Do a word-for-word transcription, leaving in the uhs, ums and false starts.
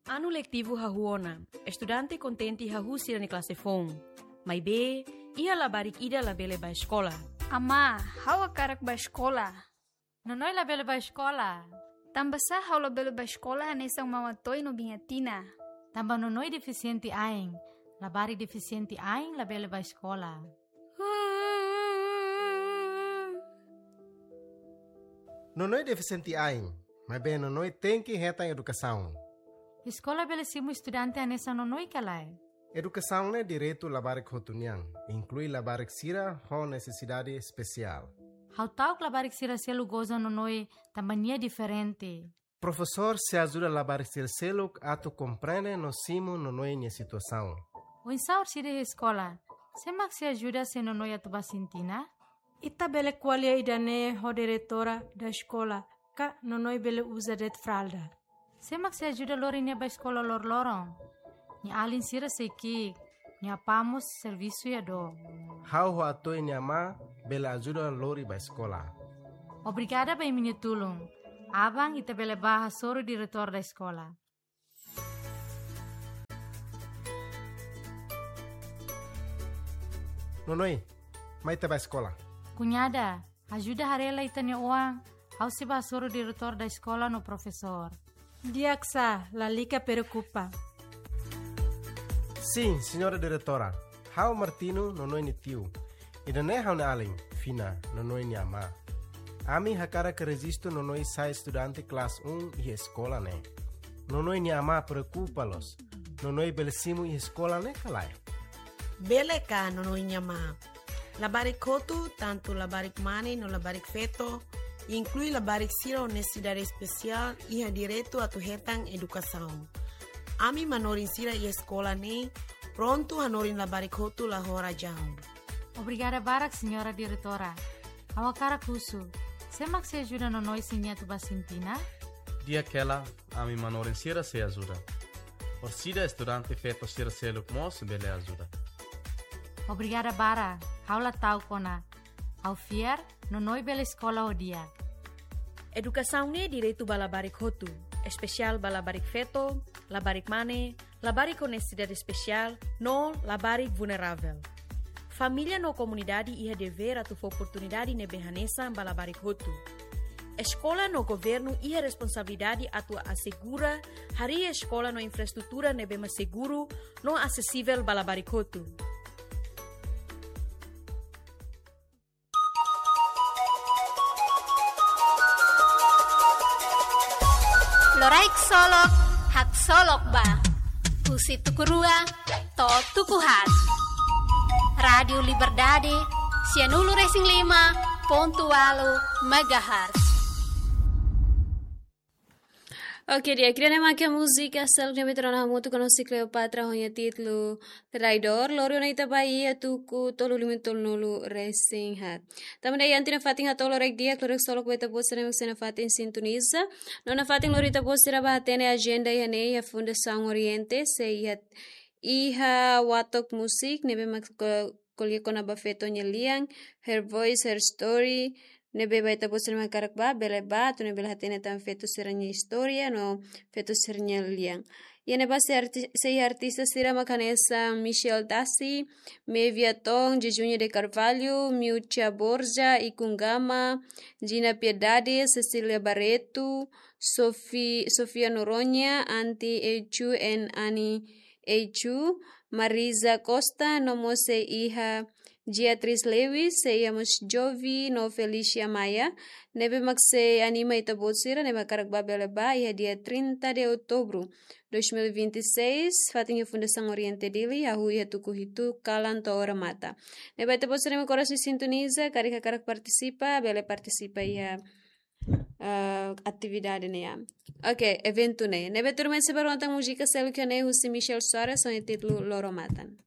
Anu letivu hahú ona, estudante kontente hahú sira-nia klase foun. Maibé, iha labarik ida labele bá eskola. Amá, ha'u hakarak bá eskola. Nonoi labele bá eskola. Tanbasá ha'u labele bá eskola hanesan Mama Toy no Biña Tina? Tanba Nonoi defisiente ain. Labarik defisiente ain labele bá eskola. Nonoi defisiente ain, maibé Nonoi tenke hetan edukasaun. Eskola bele simu estudante hanesan Nonoi ka lae? Edukasaun ne'e direitu labarik hotu nian, inklui labarik sira ho nesesidade espesiál. Ha'u ta'uk labarik sira seluk goza Nonoi tanba nia diferente. Profesór sei ajuda labarik sira seluk atu komprende no simu Nonoi nia situasaun. Oinsá orsida iha eskola? Sé mak sei ajuda se Nonoi atu bá sintina? Ita bele ko'alia ida-ne'e ho diretora da eskola, ka Nonoi bele uza de'it fralda. Sé mak sei ajuda lori nia bá eskola loroloron? Nia alin sira sei ki'ik, nia apá mós servisu iha dook. Ha'u ho Atoy nia amá bele ajuda lori bá eskola. Obrigada ba imi-nia tulun. Aban ita bele bá hasoru diretór da eskola. Nonoi, mai ita bá eskola. Kuñada, ajuda haree lai ita-nia oan, ha'u sei bá hasoru diretór da eskola no profesór. Di'ak sá, lalika preokupa. Sin, señora diretora. Ha'u Martino, Nonoi nia tiu. Ida-ne'e ha'u-nia alin, Fina, Nonoi nia amá. Ami hakarak rejistu Nonoi sai estudante klase un iha eskola ne'e. Nonoi nia amá preokupa loos. Nonoi bele simu iha eskola ne'e ka lae? Bele ka, Nonoi nia amá. Labarik hotu, tantu labarik mane no labarik feto, inklui labarik sira ho nesesidade espesiál, iha direitu atu hetan edukasaun. Ami manorin sira iha eskola ne'e prontu hanorin labarik hotu la ho razaun. Obrigada barak, señora diretora. Ha'u hakarak husu, sé mak sei ajuda Nonoi se nia atu bá sintina? Di'ak hela, ami manorin sira sei ajuda. Orsida estudante feto sira seluk mós bele ajuda. Obrigada barak, ha'u la ta'uk ona. Ha'u fiar, Nonoi bele eskola ho di'ak. Edukasaun ne'e direitu ba labarik hotu, espesiál ba labarik feto, labarik mane, labarik ho nesesidade espesiál, no labarik vulneravel. Família no komunidade iha devér atu fó oportunidade ne'ebé hanesan ba labarik hotu. Eskola no governu iha responsabilidade atu asegura harii eskola no infraestrutura ne'ebé mak seguru no asesivel ba labarik hotu. Loraik solok, haksolok ba. Husi tuku rua to'o tuku haat. Rádiu Liberdade, sianulu resin lima pontu ualu megahertz. Oke, di'ak, ida-ne'e mak múzika seluk ne'ebé ita rona hamutuk ho Cleopatra ho nia títulu Traidór, lori ona ita ba iha tuku tolu lima tolunulu resin haat. Tanba ne'e iha ita-nia fatin hato'o loraik di'ak, loraik solok ba ita-boot sira ne'ebé sei nafatin sintoniza. No nafatin lori ita-boot sira bá hatene ajenda iha ne'e iha Fundasaun Oriente, sei iha, iha Watok Musik, ne'ebé mak ko-, ko'alia kona-ba feto nia lian, Her Voice, Her Story, ne'ebé ba ita-boot sira mak hakarak bá, bele bá, atu nune'e bele hatene tan feto sira-nia istória, no feto sira-nia lian. Iha ne'ebá sei arti-, sei artista sira mak hanesan Michel Tassi, Mevia Tong, Jejunha de Carvalho, Miucha Borja, Ikun Gama, Gina Piedade, Cecília Barreto, Sofi-, Sofia Noronha, Anti Eichu and Ani Eichu, Marisa Costa, no mós sei iha Beatriz Lewis, sei iha mós Jovi, no Felicia Maia, ne'ebé mak sei anima ita-boot sira, ne'ebé hakarak bá bele bá, iha dia trinta de outubro dois mil e vinte e seis, fatin iha Fundasaun Oriente Dili, hahú iha tuku hitu kalan to'o remata. Ne'ebé ita-boot sira ne'ebé korasaun sintoniza, karik hakarak partisipa, bele partisipa iha, ah, atividade ne'e. Oke, eventu ne'e. Ne'ebé tuirmai sei bá rona tan múzika seluk iha ne'e husi Michel Soares, ho nia títulu Loro Matan.